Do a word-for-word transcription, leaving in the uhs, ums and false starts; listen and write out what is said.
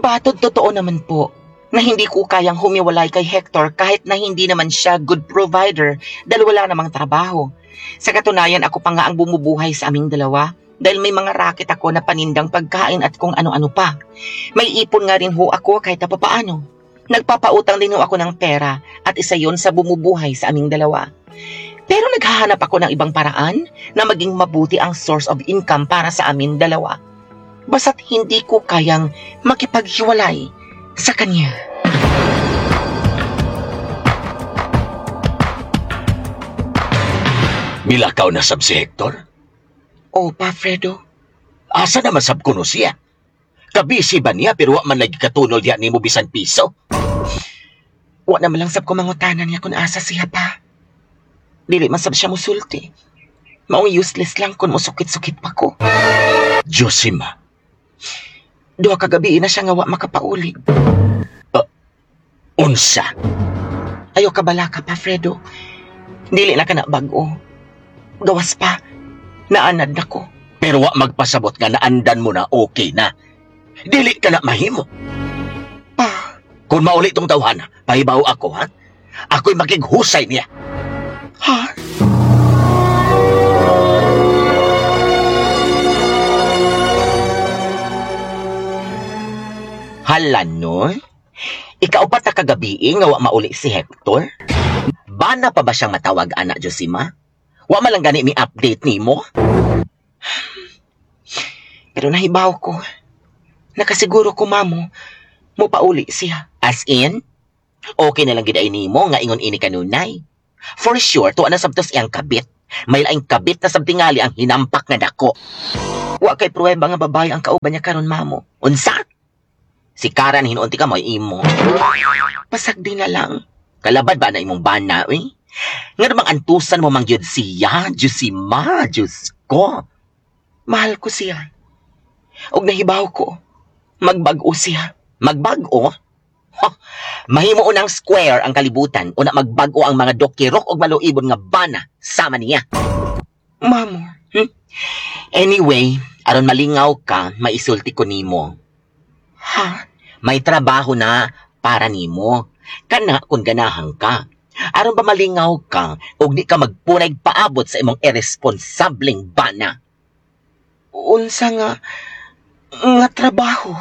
Batod totoo naman po na hindi ko kayang humiwalay kay Hector kahit na hindi naman siya good provider dahil wala namang trabaho. Sa katunayan, ako pa nga ang bumubuhay sa aming dalawa dahil may mga raket ako na panindang pagkain at kung ano-ano pa. May ipon nga rin ho ako kahit na papaano. Nagpapautang din ho ako ng pera at isa yon sa bumubuhay sa aming dalawa. Pero naghahanap ako ng ibang paraan na maging mabuti ang source of income para sa amin dalawa. Basta't hindi ko kayang makipaghiwalay sa kanya. Milakaw na sab si Hector? O, pa Fredo, Asa naman sab kuno siya? Kabisi ba niya pero wa man lagi katunol diha nimo bisan piso? wa naman lang sab ko mangutana niya kung asa siya pa. Dili man sab siya musulti. Maong useless lang kung musukit-sukit pa ko. Josima, Duha ka gabi na siya nga wa makapauli. unsa? Ayaw ka bala ka pa, Fredo. Dili na ka na bag-o. Gawas pa. Naanad na ko. Pero wa magpasabot nga naandan mo na okay na. Dili ka na mahimo. Pa, Kung mauli tong tawhana, pahibaw ako ha. Ako'y makighusay niya. ha? Hala no? Ikaw pa ta kagabi nga wa mauli si Hector? Bana pa ba siyang matawag ana Josima? Wa man lang gani mi update nimo? Pero nahibaw ko. Nakasiguro ko, mamo, mo pauli siya. As in, okay na lang gid ay nimo nga ingon ini kanunay. For sure, tuwa na sabtos iyang kabit. May laing kabit na sabtingali ang hinampak nga dako. Wa kay pruweba nga babae ang kauban niya karon, mamo. Unsa? Si Karan hinuunti ka mo imo. Pasagdi na lang. Kalabad ba na imong bana, uy? Nga namang antusan mo mang gyud siya, Josima, Diyos ko. Mahal ko siya. Og nahibaw ko. Magbag-o siya. Magbag-o? Ha, mahimo unang square ang kalibutan, una magbag-o ang mga dokirok og maluibon nga bana sama niya. Mamo, Anyway, aron malingaw ka, maisulti ko nimo. ha? May trabaho na para nimo. Kana kung ganahan ka. Aron ba malingaw ka ug di ka magpunay paabot sa imong irresponsableng bana. Unsa nga nga trabaho?